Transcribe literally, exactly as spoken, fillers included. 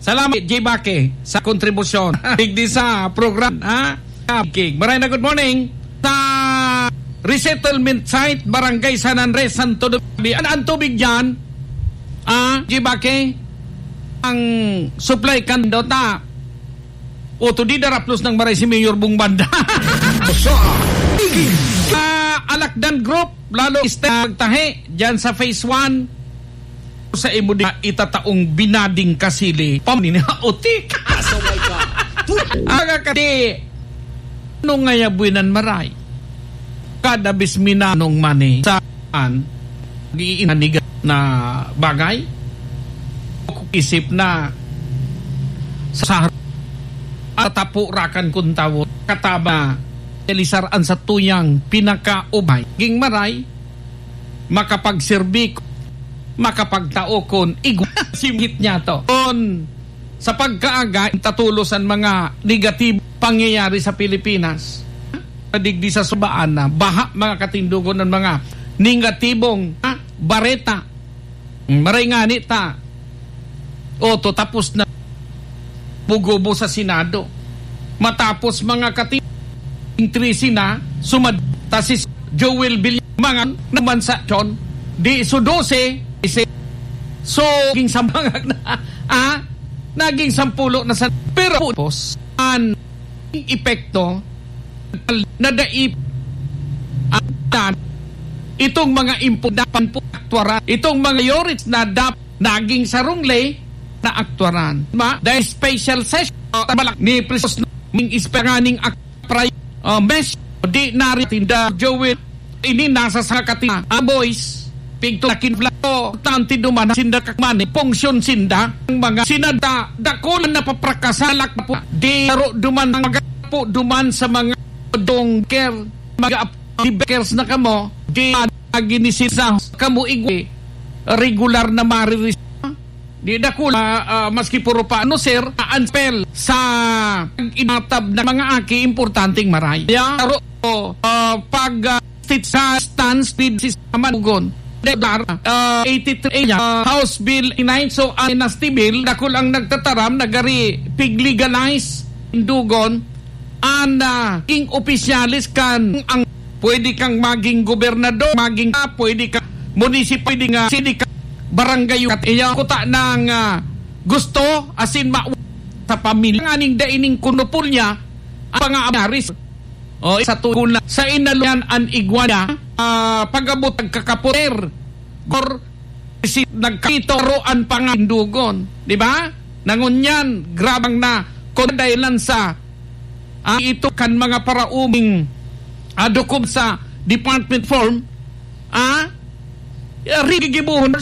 Salamat, J Baque, sa kontribusyon. Digdi sa program, ha? King. Maray na good morning. Sa resettlement site, Barangay San Andres, Santo Domingo. An, ang tubig dyan, ah, J Baque, ang supply kan dota. O, to di daraplos ng maray si Mayor Bong Banda. Sa King. Ah, Alakdan Group, lalo ista magtahi dyan sa phase one. Sa imo di itataong binading kasili. Pamini na utik. Asaway ka. Aga ka di. Ano nga ya buwinan maray? Kada bis minanong mani sa an, nag-iinanigan na bagay? Isip na sa at tapo rakan kun tawo, kataba, elisar an sa tuyang pinakaubay. Ging maray, makapagserbi, makapagtao kun igwa simhit niya to. Kun sa pagkaaga, tatulos an mga negatibong pangyayari sa Pilipinas. Digdi sa subaan na, baha, mga katindogon, ang mga negatibong, ha, bareta. Maray ngani ta. O, to, tapos na. Bugobo sa Senado. Matapos, mga kati-, ing trese na, sumad-, ta si Joel Villanueva, mga naman sa John, di, so, dose, ise, so, ging sa mga na, ah, naging sampulo na sa, pero, pos, an, epekto, na dai, ah, itong mga impo, dapat po aktuaran, itong mga yoris na dap-, naging sarong ley na aktuaran. Ma, dahil special session, ah, balak ni Presos na ming ispanganing ak-, pray-, ah, mes, di na rin tinda, Joel, ini nasa sa katina, ah, boys, pigto na kinflato, tanti duman, sinda kakmani, pungsyon sinda, ang mga sinada, dakul na paprakasalak po, di aro duman, ang mga po duman sa mga dongker, mga ap-, di bakers na kamo, di, ah, ginisisa kamo igwi, regular na mariris-, di dakul, ah, ah, maski puro pa, ano, sir, ah, an spell sa pag-inatab ng mga aki, importanteng maray. Kaya, aro, ah, pag, ah, state sa stance with si Saman Ugon. Dar, ah, eighty-three, ah, House Bill nine, so, ah, Dynasty Bill, dakul ang nagtataram, nagari, pig-legalize, indugon, an, ah, king opisyalis kan ang pwede kang maging gobernador, maging, ah, pwede ka munisip-, pwede nga, sindi ka barangay, kat iya kuta ng, ah, gusto, asin ma-, sa pamilya, nganing daining kunupol niya, ang mga abyaris. O, sa tugon na, sa inaluyan an igwa niya, ah, pag-abot nagkakapoder, gor, si, nagkapito, roan pa nga indugon. Di ba? Nangunyan, grabang na, kung dahilan sa, ah, ito kan mga parauming, ah, dokum sa department form, ah, rigigibuhon.